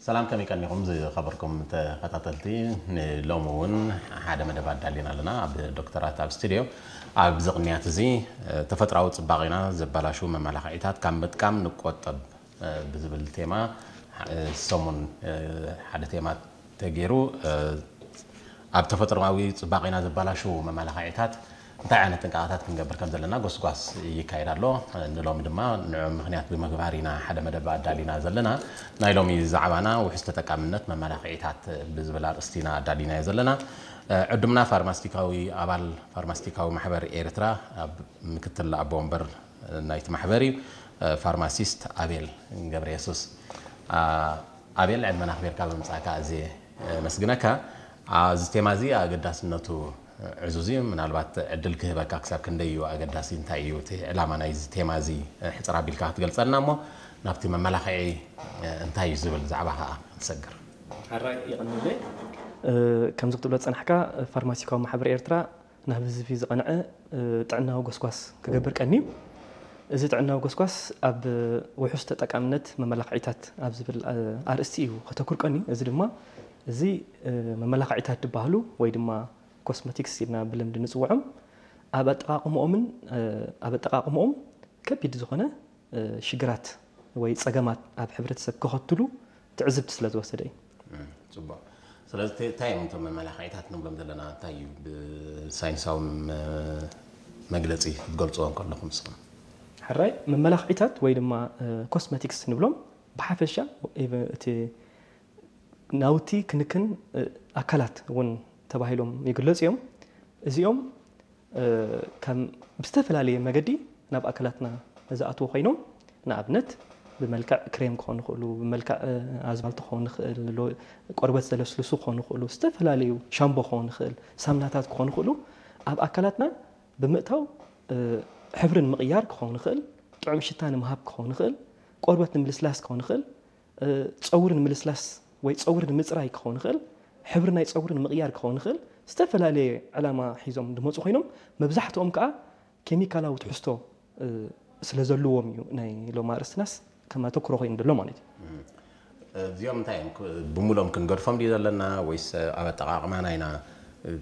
ሰላም፣ ከመይ ቀኒኹም ዝኸበርኩም ተኸታተልቲ? ንሎሚ እውን ሓደ መደብ ኣዳሊና ኣለና። ኣብ ዶክተራት ኣብ ስቱድዮ ኣብዚ ቅንያት እዚ ተፈጥራዊ ጽባቄና ዘባላሹ መመላኽዒታት ካብ ምጥቃም ንቆጠብ ብዝብል ቴማ፣ ሰሙን ሓደ ቴማ ተገይሩ፣ ኣብ ተፈጥሮኣዊ ጽባቄና ዘባላሹ መመላኽዒታት እንታይ ዓይነት ጥንቃቐታት ክንገብር ከም ዘለና ጎስጓስ ይካየድ ኣሎ። ንሎሚ ድማ ንዕኡ ምኽንያት ብምግባር ኢና ሓደ መደብ ኣዳሊና ዘለና። ናይ ሎሚ ዛዕባና ውሕስ ተጠቃምነት መመላኽዒታት ብዝብል ኣርእስቲ ኢና ኣዳሊናዮ ዘለና። ዕዱምና ፋርማስቲካዊ ኣባል ፋርማስቲካዊ ማሕበር ኤርትራ ኣብ ምክትል ኣቦ ወንበር ናይቲ ማሕበር እዩ፣ ፋርማሲስት ኣቤል ገብረ የሱስ። ኣቤል፣ ዕድመና ኣኽቢርካ ብምምጻእካ ኣዝየ የመስግነካ። እዚ ቴማ እዚ ኣገዳስነቱ ዕዙዝ እዩ። ምናልባት ዕድል ክህበካ፣ ክሳብ ክንደይ እዩ ኣገዳሲ፣ እንታይ እዩ እቲ ዕላማ ናይዚ ቴማ እዚ ሕጽር ኣቢልካ ክትገልጸልና እሞ ናብቲ መመላኽዒ እንታይ እዩ ዝብል ዛዕባ ከኣ ንሰግር። ሕራይ ይቐንለ። ከምዚ ክትብሎ ዝጸናሕካ ፋርማሲካዊ ማሕበር ኤርትራ ናብ ህዝቢ ዝቐንዐ ጥዕናዊ ጎስጓስ ክገብር ቀንዩ። እዚ ጥዕናዊ ጎስጓስ ኣብ ውሑስ ተጠቃምነት መመላኽዒታት ኣብ ዝብል ኣርእስቲ እዩ ከተኩር ቀንዩ። እዚ ድማ እዚ መመላኽዒታት ዝበሃሉ ወይ ድማ ኮስመቲክስ ኢልና ብልምዲ ንፅውዖም ኣብ ኣጠቓቕምኦምን ኣብ ኣጠቓቕምኦም ከቢድ ዝኾነ ሽግራት ወይ ፀገማት ኣብ ሕብረተሰብ ከኸትሉ ትዕዝብቲ ስለ ዝወሰደ እዩ። ጽቡቕ። ስለዚ እንታይ እዮም እቶም መመላኽዒታት ንብሎም ዘለና? እንታይ እዩ ብሳይንሳዊ መግለጺ ክትገልጽዎ እንከለኹም ንስኹም? ሕራይ፣ መመላኽዒታት ወይ ድማ ኮስመቲክስ ንብሎም ብሓፈሻ እቲ ናውቲ ክንክን ኣካላት እውን ተባሂሎም ይግለጹ እዮም። እዚኦም ከም ብዝተፈላለየ መገዲ ናብ ኣካላትና ዝኣትዉ ኮይኖም፣ ንኣብነት ብመልክዕ ክሬም ክኾኑ ይኽእሉ፣ ብመልክዕ ኣዝማልቶ ክኾኑ ይኽእል፣ ቆርበት ዘለስልሱ ክኾኑ ይኽእሉ፣ ዝተፈላለዩ ሻምቦ ክኾኑ ይኽእል፣ ሳምናታት ክኾኑ ይኽእሉ፣ ኣብ ኣካላትና ብምእታው ሕብሪ ንምቕያር ክኸውን ይኽእል፣ ጥዑም ሽታ ንምሃብ ክኸውን ይኽእል፣ ቆርበት ንምልስላስ ክኸውን ይኽእል፣ ፀጉሪ ንምልስላስ ወይ ፀጉሪ ንምፅራይ ክኸውን ይኽእል፣ ሕብሪ ናይ ፀጉሪ ንምቕያር ክኸውን ይኽእል፣ ዝተፈላለየ ዕላማ ሒዞም ዝመፁ ኮይኖም መብዛሕትኦም ከዓ ኬሚካላዊ ትሕዝቶ ስለ ዘለዎም እዩ ናይ ሎሚ ኣርእስትናስ ከም ኣተኩሮ ኮይኑ ዘሎ ማለት እዩ። እዚኦም እንታይ እዮም? ብሙሎም ክንገድፎም ድዩ ዘለና ወይስ ኣብ ኣጠቓቕማና ኢና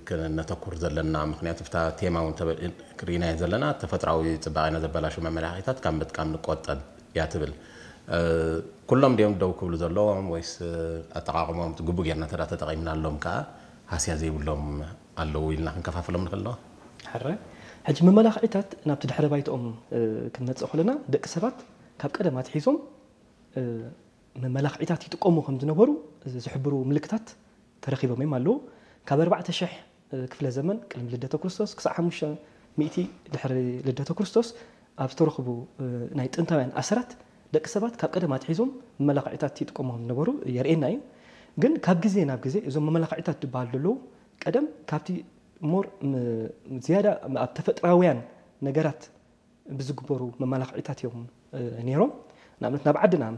ክነተኩር ዘለና? ምክንያቱ ብታ ቴማ እውን ክርኢናዮ ዘለና ተፈጥራዊ ፅባቐና ዘበላሹ መመላኽዒታት ካብ ምጥቃም ንቆጠብ እያ ትብል። ኩሎም ድዮም ደው ክብሉ ዘለዎም ወይስ ኣጠቓቕሞም ግቡእ ጌርና እንተ ተጠቒምናሎም ከዓ ሃስያ ዘይብሎም ኣለዉ ኢልና ክንከፋፍሎም ንኽእል ዶ? ሕረ ሕጂ መመላኽዒታት ናብቲ ድሕረ ባይትኦም ክንመፅእ ከለና ደቂ ሰባት ካብ ቀደም ኣትሒዞም መመላኽዒታት ይጥቀሙ ከም ዝነበሩ ዝሕብሩ ምልክታት ተረኺቦም እዮም ኣለዉ። ካብ ኣርባዕተ ሽሕ ክፍለ ዘመን ቅድሚ ልደተ ክርስቶስ ክሳዕ ሓሙሽተ ሚእቲ ድሕሪ ልደተ ክርስቶስ ኣብ ዝተረኽቡ ናይ ጥንታውያን ኣሰራት ደቂ ሰባት ካብ ቀደም ኣትሒዞም መመላኽዒታት ይጥቀሙ ከም ዝነበሩ የርእየና እዩ። ግን ካብ ግዜ ናብ ግዜ እዞም መመላኽዒታት ዝበሃሉ ዘለዉ ቀደም ካብቲ ሞር ዝያዳ ኣብ ተፈጥራውያን ነገራት ብዝግበሩ መመላኽዒታት እዮም ነይሮም። ንኣብነት ናብ ዓድና